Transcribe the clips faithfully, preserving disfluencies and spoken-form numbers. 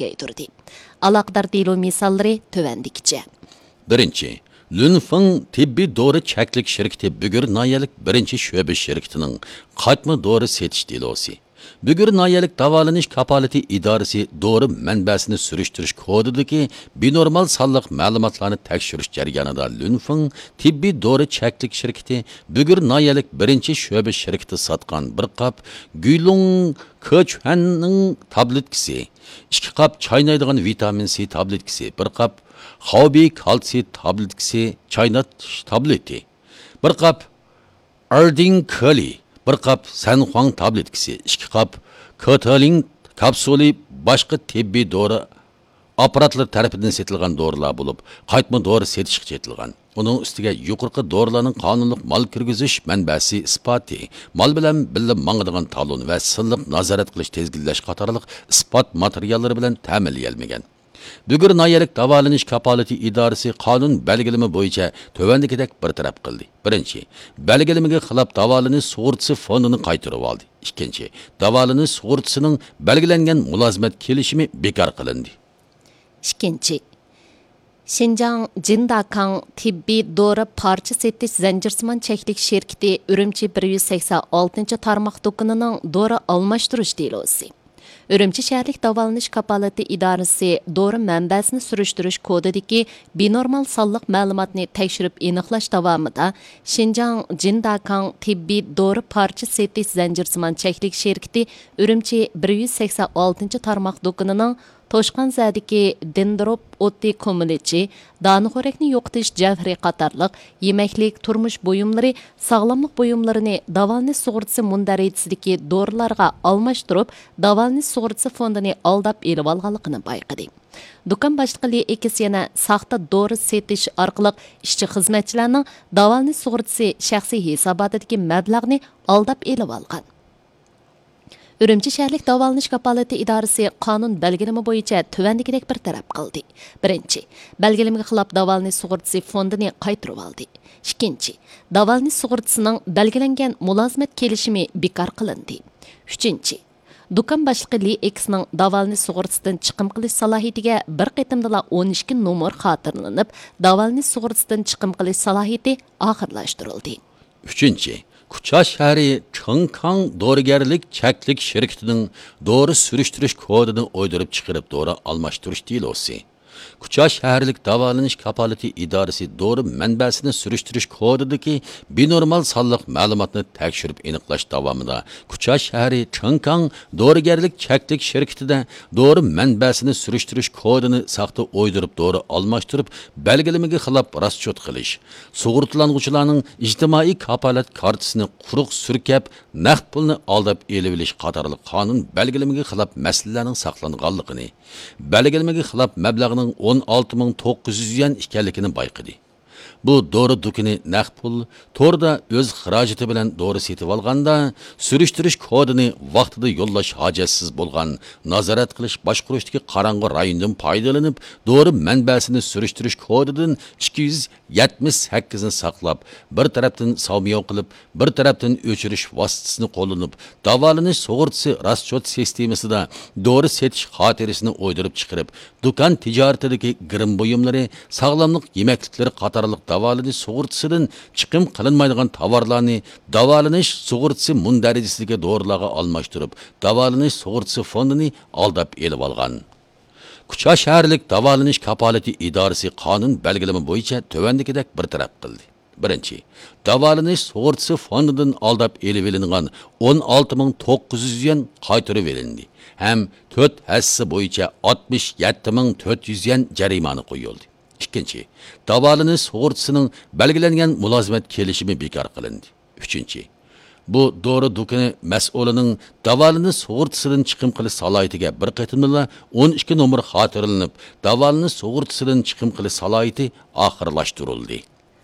كېڭەيتۈردى. ئالاقىدار دېلو مىساللىرى تۆۋەندىكىچە. بىرىنچى، لۈنفېڭ تېببىي دورا چەكلىك شىركىتى بۈگۈر ناھىيەلىك بىرىنچى شۆبە شىركىتىنىڭ قايتما دورا سېتىش دېلوسى. بۈگۈر ناھىيەلىك داۋالىنىش كاپالىتى ئىدارىسى دورا مەنبەسىنى سۈرۈشتۈرۈش كودىدىكى بىنورمال سانلىق مەلۇماتلارنى تەكشۈرۈش جەريانىدا لۈنفېڭ تېببىي دورا چەكلىك شىركىتى بۈگۈر ناھىيەلىك بىرىنچى شۆبە شىركىتى ساتقان بىر قاپ گۈيلۇڭ كېچۈەننىڭ تابلېتكىسى، ئىككى قاپ چاينايدىغان ۋىتامىن سى تابلېتكىسى، بىر قاپ خاۋبى كالتسىي تابلېتكىسى، چايناش تابلېتى، بىر قاپ ئاردىڭ كالىي، بىر قاپ سەنخۇاڭ تابلېتكىسى، ئىككى قاپ كاتالىڭ كاپسۇلى باشقا تېببىي دورا ئاپپاراتلىرى تەرىپىدىن سېتىلغان دورىلار بولۇپ، قايتما دورا سېتىشقا چېتىلغان. ئۇنىڭ ئۈستىگە يۇقىرىقى دورىلارنىڭ قانۇنلۇق مال كىرگۈزۈش مەنبەسى ئىسپاتى، مال بىلەن بىللە ماڭىدىغان تالون ۋە سىنلىق نازارەت قىلىش، تىزگىنلەش قاتارلىق ئىسپات ماتېرىياللىرى بىلەن تەمىنلىيەلمىگەن. بۈگۈر ناھىيەلىك داۋالىنىش كاپالىتى ئىدارىسى قانۇن بەلگىلىمە بويىچە تۆۋەندىكىدەك بىر تەرەپ قىلدى. بىرىنچى، بەلگىلىمىگە خىلاپ داۋالىنىش سۇغۇرتىسى فوندىنى قايتۇرۇۋالدى. ئىككىنچى، داۋالىنىش سۇغۇرتىسىنىڭ بەلگىلەنگەن مۇلازىمەت كېلىشىمى بىكار قىلىندى. ئىككىنچى، شىنجاڭ جىنداكاڭ تېببىي دورا پارچە سېتىش زەنجىرسىمان چەكلىك شىركىتى ئۈرۈمچى بىر يۈز سەكسەن ئالتىنچى تارماق دۇكىنىنىڭ دورا ئالماشتۇرۇش دېلوسى. ئۈرۈمچى شەھەرلىك داۋالىنىش كاپالىتى ئىدارىسى دورا مەنبەسىنى سۈرۈشتۈرۈش كودىدىكى بىنورمال سانلىق مەلۇماتنى تەكشۈرۈپ ئېنىقلاش داۋامىدا، شىنجاڭ جىنداكاڭ تېببىي دورا پارچە سېتىش زەنجىرسىمان چەكلىك شىركىتى ئۈرۈمچى بىر يۈز سەكسەن ئالتىنچى تارماق دۇكىنىنىڭ توشقانزەدىكى دېندروپ ئوتى كۇمۇلچى، دانىخورەكنى يوقىتىش جەۋھىرى قاتارلىق يېمەكلىك، تۇرمۇش بۇيۇملىرى، ساغلاملىق بۇيۇملىرىنى داۋالىنىش سۇغۇرتىسى مۇندەرىجىسىدىكى دورىلارغا ئالماشتۇرۇپ، داۋالىنىش سۇغۇرتىسى فوندىنى ئالداپ ئېلىۋالغانلىقىنى بايقىدى. دۇكان باشلىقى لى ئېكس يەنە ساختا دورا سېتىش ئارقىلىق ئىشچى خىزمەتچىلەرنىڭ داۋالىنىش سۇغۇرتىسى شەخسىي ھېساباتىدىكى مەبلەغنى ئالداپ ئېلىۋالغان. ئۈرۈمچى شەھەرلىك داۋالىنىش كاپالىتى ئىدارىسى قانۇن بەلگىلىمە بويىچە تۆۋەندىكىدەك بىر تەرەپ قىلدى. بىرىنچى، بەلگىلىمىگە خىلاپ داۋالىنىش سۇغۇرتىسى فوندىنى قايتۇرۇۋالدى. ئىككىنچى، داۋالىنىش سۇغۇرتىسىنىڭ بەلگىلەنگەن مۇلازىمەت كېلىشىمى بىكار قىلىندى. ئۈچىنچى، دۇكان باشلىقى لى ئېكسنىڭ داۋالىنىش سۇغۇرتىسىدىن چىقىم قىلىش سالاھىيىتىگە بىر قېتىمدىلا ئون ئىككى نومۇر خاتىرىلىنىپ، داۋالىنىش سۇغۇرتىسىدىن چىقىم قىلىش سالاھىيىتى ئاخىرلاشتۇرۇلدى. ئۈچىنچى، كۇچا شەھىرى چېڭكاڭ دورىگەرلىك چەكلىك شىركىتىنىڭ دورا سۈرۈشتۈرۈش كودىنى ئويدۇرۇپ چىقىرىپ دورا ئالماشتۇرۇش دېلوسى. كۇچا شەھەرلىك داۋالىنىش كاپالىتى ئىدارىسى دورا مەنبەسىنى سۈرۈشتۈرۈش كودىدىكى بىنورمال سانلىق مەلۇماتنى تەكشۈرۈپ ئېنىقلاش داۋامىدا، كۇچا شەھىرى چېڭكاڭ دورىگەرلىك چەكلىك شىركىتىدە دورا مەنبەسىنى سۈرۈشتۈرۈش كودىنى ساختا ئويدۇرۇپ دورا ئالماشتۇرۇپ، بەلگىلىمىگە خىلاپ راسچوت قىلىش، سۇغۇرتىلانغۇچىلارنىڭ ئىجتىمائىي كاپالەت كارتىسىنى قۇرۇق سۈركەپ، نەق پۇلنى ئالداپ ئېلىۋېلىش قاتارلىق قانۇن بەلگىلىمىگە خىلاپ مەسىلىلەرنىڭ ساقلانغانلىقىنى، بەلگىلىمىگە خىلاپ مەبلەغنىڭ ئون ئالتە مىڭ توققۇز يۈز يۈەن ئىكەنلىكىنى بايقىدى. بۇ دورا دۇكىنى نەق پۇل، توردا ئۆز خىراجىتى بىلەن دورا سېتىۋالغاندا، سۈرۈشتۈرۈش كودىنى ۋاقتىدا يوللاش ھاجەتسىز بولغان، نازارەت قىلىش باشقۇرۇشتىكى قاراڭغۇ رايوندىن پايدىلىنىپ، دورا مەنبەسىنى سۈرۈشتۈرۈش كودىدىن ئىككى يۈز يەتمىش سەككىزنى ساقلاپ، بىر تەرەپتىن ساۋمياۋ قىلىپ، بىر تەرەپتىن ئۆچۈرۈش ۋاسىتىسىنى قوللىنىپ، داۋالىنىش سۇغۇرتىسى راسچوت سىستېمىسىدا دورا سېتىش خاتىرىسىنى ئويدۇرۇپ چىقىرىپ، دۇكان تىجارىتىدىكى گىرىم بۇيۇملىرى، ساغلاملىق يېمەكلىكلىرى قاتارلىق داۋالىنىش سۇغۇرتىسىدىن چىقىم قىلىنمايدىغان تاۋارلارنى داۋالىنىش سۇغۇرتىسى مۇندەرىجىسىدىكى دورىلارغا ئالماشتۇرۇپ، داۋالىنىش سۇغۇرتىسى فوندىنى ئالداپ ئېلىۋالغان. كۇچا شەھەرلىك داۋالىنىش كاپالىتى ئىدارىسى قانۇن بەلگىلىمە بويىچە تۆۋەندىكىدەك بىر تەرەپ قىلدى. بىرىنچى، داۋالىنىش سۇغۇرتىسى فوندىدىن ئالداپ ئېلىۋېلىنغان ئون ئالتە مىڭ توققۇز يۈز يۈەن قايتۇرۇۋېلىندى ھەم تۆت ھەسسە بويىچە ئاتمىش يەتتە مىڭ تۆت يۈز يۈەن جەرىمانە قويۇلدى. ئىككىنچى، داۋالىنىش سۇغۇرتىسىنىڭ بەلگىلەنگەن مۇلازىمەت كېلىشىمى بىكار قىلىندى. ئۈچىنچى، بۇ دورا دۇكىنى مەسئۇلىنىڭ داۋالىنىش سۇغۇرتىسىدىن چىقىم قىلىش سالاھىيىتىگە بىر قېتىمدىلا ئون ئىككى نومۇر خاتىرىلىنىپ، داۋالىنىش سۇغۇرتىسىدىن چىقىم قىلىش سالاھىيىتى ئاخىرلاشتۇرۇلدى.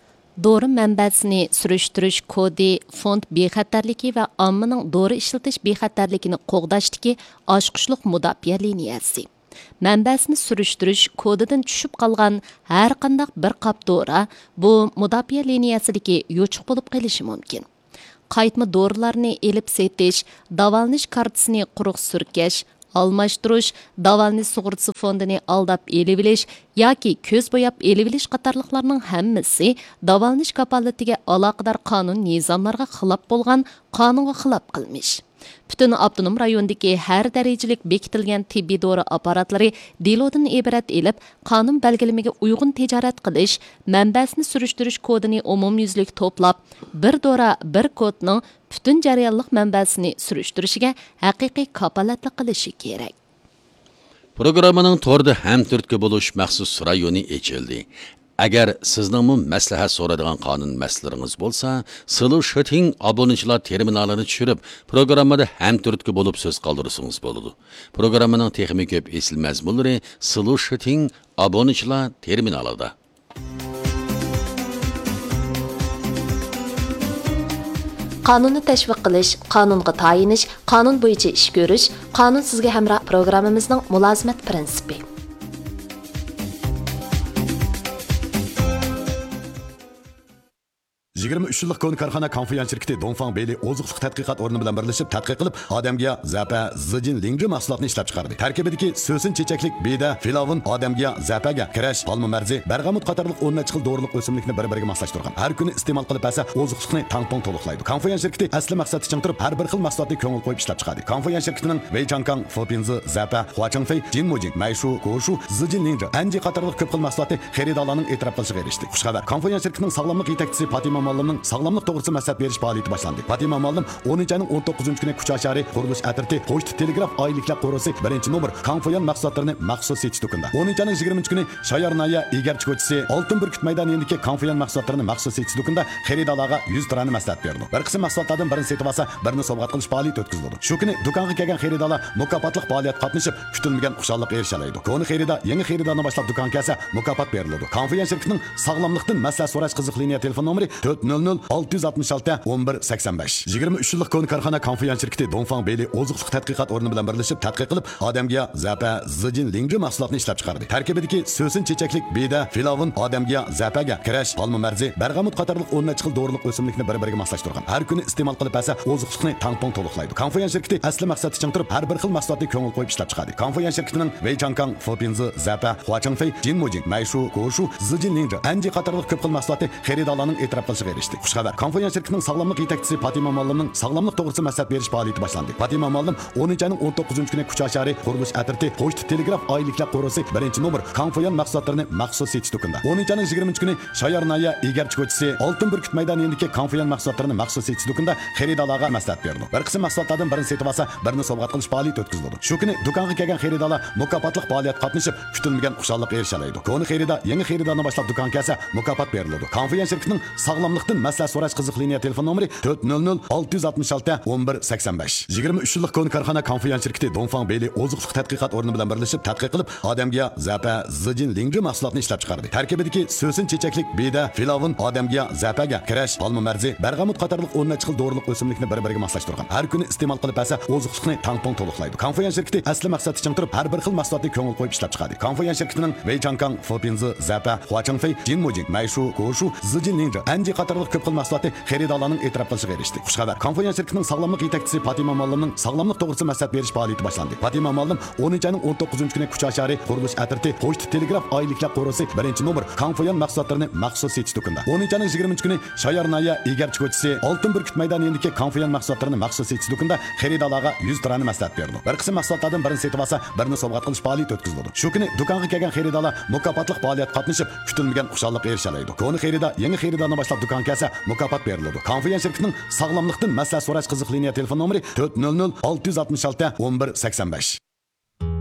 دورا مەنبەسىنى سۈرۈشتۈرۈش كودى فوند بىخەتەرلىكى ۋە ئاممىنىڭ دورا ئىشلىتىش بىخەتەرلىكىنى قوغداشتىكى ئاچقۇچلۇق مۇداپىئە لىنىيەسى. مەنبەسىنى سۈرۈشتۈرۈش كودىدىن چۈشۈپ قالغان ھەرقانداق بىر قاپ دورا بۇ مۇداپىئە لىنىيەسىدىكى يوچۇق بولۇپ قېلىشى مۇمكىن. قايتما دورىلارنى ئېلىپ سېتىش، داۋالىنىش كارتىسىنى قۇرۇق سۈركەش، ئالماشتۇرۇش، داۋالىنىش سۇغۇرتىسى فوندىنى ئالداپ ئېلىۋېلىش ياكى كۆز بوياپ ئېلىۋېلىش قاتارلىقلارنىڭ ھەممىسى داۋالىنىش كاپالىتىگە ئالاقىدار قانۇن نىزاملارغا خىلاپ بولغان قانۇنغا خىلاپ قىلمىش. پۈتۈن ئاپتونوم رايوندىكى ھەر دەرىجىلىك بېكىتىلگەن تېببىي دورا ئاپپاراتلىرى دېلودىن ئىبارەت ئېلىپ، قانۇن بەلگىلىمىگە ئۇيغۇن تىجارەت قىلىش، مەنبەسىنى سۈرۈشتۈرۈش كودىنى ئومۇميۈزلۈك توپلاپ، بىر دورا، بىر كودنىڭ پۈتۈن جەريانلىق مەنبەسىنى سۈرۈشتۈرۈشىگە ھەقىقىي كاپالەتلىك قىلىشى كېرەك. پروگراممىنىڭ توردا ھەمتۈرتكە بولۇش مەخسۇس رايونى ئېچىلدى. ئەگەر سىزنىڭمۇ مەسلىھەت سورايدىغان قانۇن مەسىلىلىرىڭىز بولسا، سىلۇ شىتىڭ ئابۇنىچىلار تېرمىنالىنى چۈشۈرۈپ، پروگراممىدا ھەمتۈرتكە بولۇپ سۆز قالدۇرسىڭىز بولىدۇ. پروگراممىنىڭ تېخىمۇ كۆپ ئېسىل مەزمۇنلىرى سىلۇ شىتىڭ ئابۇنىچىلار تېرمىنالىدا. قانۇننى تەشۋىق قىلىش، قانۇنغا تايىنىش، قانۇن بويىچە ئىش كۆرۈش، قانۇن سىزگە ھەمراھ پروگراممىمىزنىڭ مۇلازىمەت پىرىنسىپى. يىگىرمە ئۈچ يىللىق كونا كارخانا كاڭفۇيۈەن شىركىتى دۇڭفاڭ بېيلى ئوزۇقلۇق تەتقىقات ئورنى بىلەن بىرلىشىپ تەتقىق قىلىپ، ئادەمگىياھ، زەپە، زىجىن لىڭجى مەھسۇلاتنى ئىشلەپچىقاردى. تەركىبىدىكى سۆسۈن چېچەكلىك بېدە، فىلاۋون، ئادەمگىياھ، زەپەگە كىرەش، ئالما مەرزى، بەرغەمۇت قاتارلىق ئون نەچچە خىل دورىلىق ئۆسۈملۈكنى بىر-بىرىگە ماسلاشتۇرغان. ھەر كۈنى ئىستېمال قىلىپ بەرسە، ئوزۇقلۇقنى تاڭ-تۇڭ تولۇقلايدۇ. كاڭفۇيۈەن شىركىتى ئەسلى مەقسەتتە چىڭ تۇرۇپ، ھەر بىر خىل مەھسۇلاتنى كۆڭۈل قويۇپ ئىشلەپچىقاردى. كاڭفۇيۈەن شىركىتىنىڭ ۋېيچاڭكاڭ، فېپىنزى، زەپە، خۇاچىڭفېي، جىنمۇجىڭ، مەيشۇ، گوشۇ، زىجىن لىڭجى، ئەنجى قاتارلىق كۆپ خىل مەھسۇلاتى خېرىدارلارنىڭ ئېتىراپ قىلىشىغا ئېرىشتى. خۇش خەۋەر! كاڭفۇيۈەن شىركىتىنىڭ ساغلاملىق يېتەكچىسى پاتىما مۇئەللىمنىڭ ساغلاملىق توغرىسىدا مەسلىھەت بېرىش پائالىيىتى باشلاندى. پاتىما مۇئەللىم ئونىنچى ئاينىڭ ئون توققۇزىنچى كۈنى كۇچا شەھىرى قۇرۇلۇش ئەترىتى پوچتا تېلېگراف ئائىلىلىكلەر قورۇسى بىرىنچى نومۇر كاڭفۇيۈەن مەھسۇلاتلىرىنى مەخسۇس سېتىش دۇكىنىدا، ئونىنچى ئاينىڭ يىگىرمىنچى كۈنى شايارنايە ئىگەرچى كوچىسى ئالتۇن بۈركۈت مەيدانى يېنىدىكى كاڭفۇيۈەن مەھسۇلاتلىرىنى مەخسۇس سېتىش دۇكىنىدا خېرىدارلارغا يۈز تۇرانە مەسلىھەت بېرىدۇ. بىر قىسىم مەھسۇلاتلاردىن بىرىنى سېتىۋالسا، بىرىنى سوۋغات قىلىش پائالىيىتى ئۆتكۈزۈلىدۇ. شۇ كۈنى دۇكانغا كەلگەن خېرىدارلار مۇكاپاتلىق پائالىيەتكە قاتنىشىپ، كۈتۈلمىگەن خۇشاللىققا ئېرىشەلەيدۇ. كونا خېرىدار يېڭى خېرىدارنى باشلاپ دۇكانغا كەلسە، مۇكاپات بېرىلىدۇ. كاڭفۇيۈەن شىركىتىنىڭ ساغلاملىقتىن مەسلىھەت سوراش قىزىق لىنىيە تېلېفون نومۇرى تۆت نۆل نۆل ئالتە يۈز ئاتمىش ئالتە ئون بىر سەكسەن بەش. يىگىرمە ئۈچ يىللىق كونا كارخانا كاڭفۇيۈەن شىركىتى دۇڭفاڭ بېيلى ئوزۇقلۇق تەتقىقات ئورنى بىلەن بىرلىشىپ تەتقىق قىلىپ، ئادەمگىياھ، زەپە، زىجىن لىڭجى مەھسۇلاتنى ئىشلەپچىقاردى. تەركىبىدىكى سۆسۈن چېچەكلىك بېدە، فىلاۋون، ئادەمگىياھ، زەپەگە كىرەش، ئالما مەرزى، بەرغەمۇت قاتارلىق ئون نەچچە خىل دورىلىق ئۆسۈملۈكنى بىر-بىرىگە ماسلاشتۇرغان. ھەر كۈنى ئىستېمال قىلىپ بەرسە، ئوزۇقلۇقنى تاڭ-تۇڭ تولۇقلايدۇ. كاڭفۇيۈەن شىركىتى ئەسلى مەقسەتتە چىڭ تۇرۇپ، ھەر بىر خىل مەھسۇلاتنى كۆڭۈل قويۇپ ئىشلەپچىقاردى. كاڭفۇيۈەن شىركىتىنىڭ ۋېيچاڭكاڭ، فېپىنزى، زەپە، خۇاچىڭفېي، جىنمۇجىڭ، مەيشۇ، گوشۇ، زىجىن لىڭجى، ئەنجى قاتارلىق كۆپ خىل مەھسۇلاتى خېرىدارلارنىڭ ئېتىراپ قىلىشىغا ئېرىشتى. خۇش خەۋەر! كاڭفۇيۈەن شىركىتىنىڭ ساغلاملىق يېتەكچىسى پاتىما مۇئەللىمنىڭ ساغلاملىق توغرىسىدا مەسلىھەت بېرىش پائالىيىتى باشلاندى. پاتىما مۇئەللىم ئونىنچى ئاينىڭ ئون توققۇزىنچى كۈنى كۇچا شەھىرى قۇرۇلۇش ئەترىتى پوچتا تېلېگراف ئائىلىلىكلەر قورۇسى بىرىنچى نومۇر كاڭفۇيۈەن مەھسۇلاتلىرىنى مەخسۇس سېتىش دۇكىنىدا، ئونىنچى ئاينىڭ يىگىرمىنچى كۈنى شايارنايە ئىگەرچى كوچىسى ئالتۇن بۈركۈت مەيدانى يېنىدىكى كاڭفۇيۈەن مەھسۇلاتلىرىنى مەخسۇس سېتىش دۇكىنىدا خېرىدارلارغا مەسلىھەت بېرىدۇ. بىر قىسىم مەھسۇلاتلاردىن بىرىنى سېتىۋالسا، بىرىنى سوۋغات قىلىش پائالىيىتى ئۆتكۈزۈلىدۇ. شۇ كۈنى دۇكانغا كەلگەن خېرىدارلار مۇكاپاتلىق پائالىيەتكە قاتنىشىپ، كۈتۈلمىگەن خۇشاللىققا ئېرىشەلەيدۇ. كونا خېرىدار يېڭى خېرىدارنى باشلاپ دۇكانغا كەلسە، مۇكاپات بېرىلىدۇ. كاڭفۇيۈەن شىركىتىنىڭ ساغلاملىقتىن مەسلىھەت سوراش قىزىق لىنىيە تېلېفون نومۇرى تۆت نۆل نۆل ئالتە يۈز ئاتمىش ئالتە ئون بىر سەكسەن بەش. يىگىرمە ئۈچ يىللىق كونا كارخانا كاڭفۇيۈەن شىركىتى دۇڭفاڭ بېيلى ئوزۇقلۇق تەتقىقات ئورنى بىلەن بىرلىشىپ تەتقىق قىلىپ، ئادەمگە زەپە، زىجىن لىڭجى مەھسۇلاتنى ئىشلەپچىقاردى. تەركىبىدىكى سۆسۈن چېچەكلىك بېدە، فىلاۋون، ئادەمگە زەپەگە كىرەش، ئالما مەرزى، بەرغەمۇت قاتارلىق ئون نەچچە خىل دورىلىق ئۆسۈملۈكنى بىر-بىرىگە ماسلاشتۇرغان. ھەر كۈنى ئىستېمال قىلىپ بەرسە، ئوزۇقلۇقنى تاڭ-تۇڭ تولۇقلايدۇ. كاڭفۇيۈەن شىركىتى ئەسلى مەقسەتتە چىڭ تۇرۇپ، ھەر بىر خىل مەھسۇلاتنى كۆڭۈل قويۇپ ئىشلەپچىقاردى. كاڭفۇيۈەن شىركىتىنىڭ ۋېيچاڭكاڭ، فېپىنزى، زەپە، خۇاچىڭفېي، جىنمۇجىڭ، مەيشۇ، گوشۇ، زىجىن لىڭجى، ئەنجى قاتارلىق كۆپ خىل مەھسۇلاتى خېرىدارلارنىڭ ئېتىراپ قىلىشىغا ئېرىشتى. خۇش خەۋەر! كاڭفۇيۈەن شىركىتىنىڭ ساغلاملىق يېتەكچىسى پاتىما مۇئەللىمنىڭ ساغلاملىق توغرىسىدا مەسلىھەت بېرىش پائالىيىتى باشلاندى. پاتىما مۇئەللىم ئونىنچى ئاينىڭ ئون توققۇزىنچى كۈنى كۇچا شەھىرى قۇرۇلۇش ئەترىتى پوچتا تېلېگراف ئائىلىلىكلەر قورۇسى بىرىنچى نومۇر كاڭفۇيۈەن مەھسۇلاتلىرىنى مەخسۇس سېتىش دۇكىنىدا، ئونىنچى ئاينىڭ يىگىرمىنچى كۈنى شايارنايە ئىگەرچى كوچىسى ئالتۇن بۈركۈت مەيدانى يېنىدىكى كاڭفۇيۈەن مەھسۇلاتلىرىنى مەخسۇس سېتىش دۇكىنىدا خېرىدارلارغا يۈز تۇرانە مەسلىھەت بېرىدۇ. بىر قىسىم مەھسۇلاتلاردىن بىرىنى سېتىۋالسا، بىرىنى سوۋغات قىلىش پائالىيىتى ئۆتكۈزۈلىدۇ. شۇ كۈنى دۇكانغا كەلگەن خېرىدارلار مۇكاپاتلىق پائالىيەتكە قاتنىشىپ، كۈتۈلمىگەن خۇشاللىققا ئېرىشەلەيدۇ. كونا خېرىدار يېڭى خېرىدارنى باشلاپ دۇكانغا كەلسە، مۇكاپات بېرىلىدۇ. كاڭفۇيۈەن شىركىتىنىڭ ساغلاملىقتىن مەسلىھەت سوراش قىزىق لىنىيە تېلېفون نومۇرى تۆت نۆل نۆل ئالتە يۈز ئاتمىش ئالتە ئون بىر سەكسەن بەش.